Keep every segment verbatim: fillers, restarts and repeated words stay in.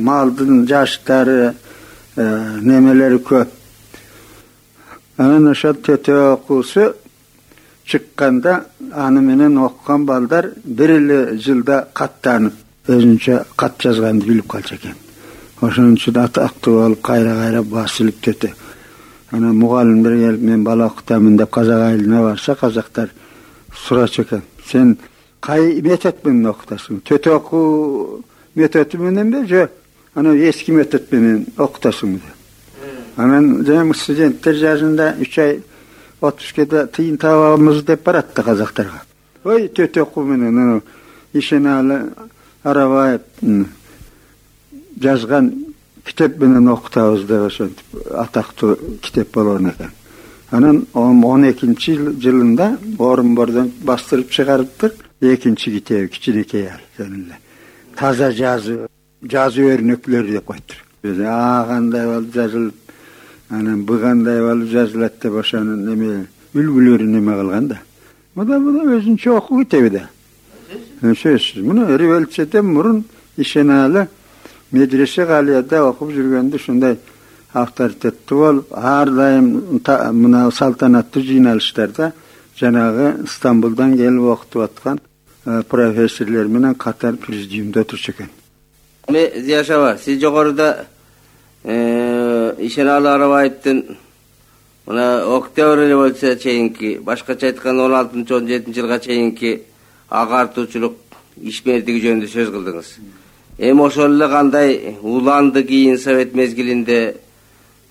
малдын жаштары, немелери көп. Анан ошол төтө окуусу чыкканда аны менен окуган балдар бир эле жылда каттанып, өзүнчө кат жазганды билип калчу экен. Ошон үчүн атактуу болуп кайра-кайра басылып төтө. Анан мугалимдер келип, мен бала окутамын деп казак айылына барса, казактар сурачу экен. Сен кай метод менен окутасың? Төтө окуу методу мененби же анан эски метод менен окутасыңбы деп. Анан жана студенттер жашында үч ай отпускада тыйын табабыз деп барат да казактарга. Ой, төтө окуу менен Ишеналы Арабаев жазган китеп менен окутабыз деп ошентип атактуу китеп болгон экен. Анан он экинчи жылында Орунбордон бастырып чыгарыптыр. Экинчи китеби кичинекей эле. Таза жазуу, жазуу өрнөклөрү деп коюптур. А кандай болуп жазылып, анан бу кандай болуп жазылат деп ошонун неме үлгүлөрү неме кылган да. Мына мына өзүнчө окуу китеби да. Сөзсүз. Муну революцияден мурун Ишеналы медресе галияда окуп жүргөндө ушундай авторитеттүү болуп, ар дайым мына салтанаттуу жыйналыштарда жанагы Стамбулдан келип окутуп аткан профессорлор менен катар президиумда отурчу экен. Зияшева, сиз жогоруда Ишеналы Арабаевдин мына Октябрь революцияга чейинки, башкача айтканда он алтынчы он жетинчи жылга чейинки агартуучулук ишмердиги жөнүндө сөз кылдыңыз. Эми ошол эле кандай уланды кийин совет мезгилинде,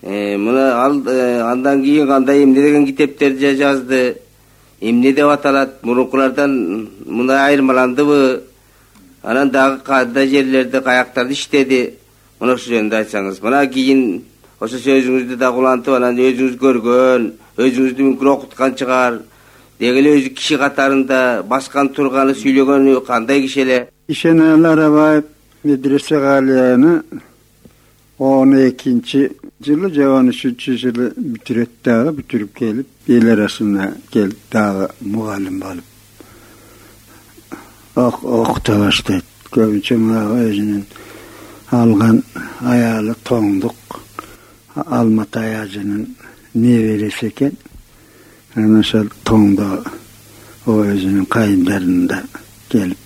мына ал андан кийин кандай эмне деген китептерди жазды, эмне деп аталат, мурункулардан мындай айырмаландыбы, анан дагы кандай жерлерде, каяктарды иштеди, мына ошол жөнүндө айтсаңыз. Мына кийин ошо сөзүңүздү да улантып, анан өзүңүз көргөн, өзүңүздү мүмкүн окуткан чыгар, деги эле өзү киши катарында баскан турганы, сүйлөгөнү кандай киши эле? Ишеналы Арабаев медресе галияны он экинчи жылы же он үчүнчү жылы бүтүрөт дагы, бүтүрүп келип, эл арасына келип дагы мугалим болуп окута баштайт. Көбүнчө өзүнүн алган аялы Тоңдук Алмат Аязынын небереси экен. Анан ошол Тоңдо өзүнүн кайындарында келип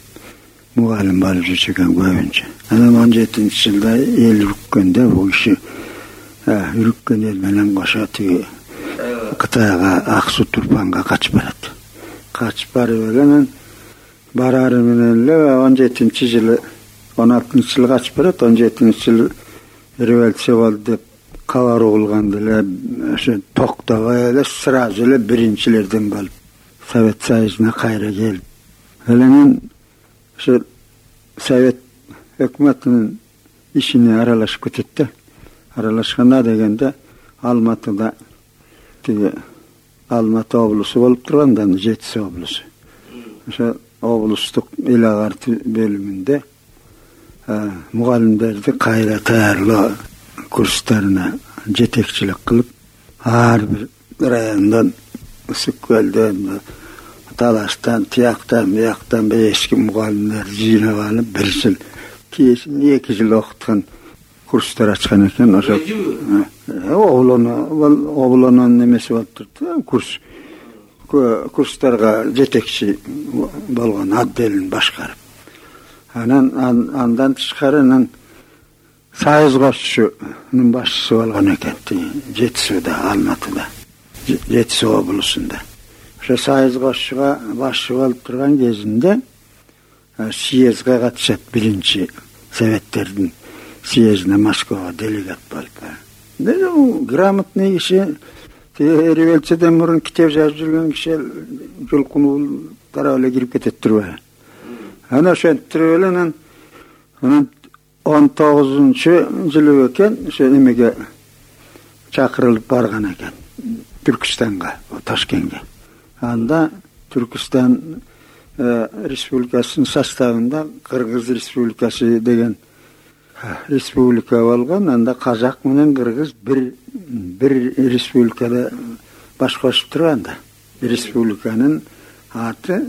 мугалим болуп жүрчү экен көбүнчө. Анан он жетинчи жылда эл үрүккөндө бул киши үрүккөн эл менен кошо тиги Кытайга Ак Суу Турпанга качып барат. Качып барып анан барары менен эле он жетинчи жылы, он алтынчы жылы качып барат, он жетинчи жылы революция болду деп кабар угулганда эле ошо токтобой эле сразу эле биринчилерден болуп Совет Союзуна кайра келип, анан ошо Совет өкмөтүнүн ишине аралашып кетет да. Аралашканда дегенде Алматыда тиги Алматы облусу болуп турганда, Жетис облусу. Ошо облустук эл агартуу бөлүмүндө мугалимдерди кайра даярлоо курстарына жетекчилик кылып, ар бир райондон, Ысык көлдөн, Талаштан, тияктан, бияктан эски мугалимдер жыйнап алып, бир жыл, кийин эки жыл окуткан курстар ачкан экен. Ошо облонун немеси болуп турду, курс курстарга жетекчи болгон отделин башкарып. Анан андан тышкары анан Союз коштучунун башчысы болгон экен, Жетисуда, Алматыда, Жетис облусунда. Ошо Союз коштучуга башчы болуп турган кезинде съездге катышат, биринчи советтердин съездине Москвага делегат болуп. Грамотный киши, революциядан мурун китеп жазып жүргөн киши жолкунуу тарап эле кирип кетет турбайбы? Анан ошентип эле анан анан он тогузунчу жылы экен, ошо эмеге чакырылып барган экен, Түркүстанга, Ташкентке. Анда Түркүстан республикасынын составында Кыргыз республикасы деген республика болгон. Анда казак менен кыргыз бир бир республикада баш кошуп турганда. Республиканын аты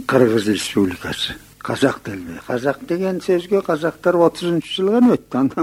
Кыргыз республикасы. Казак делбей. Казак деген сөзгө казактар отузунчу жылы гана өттү.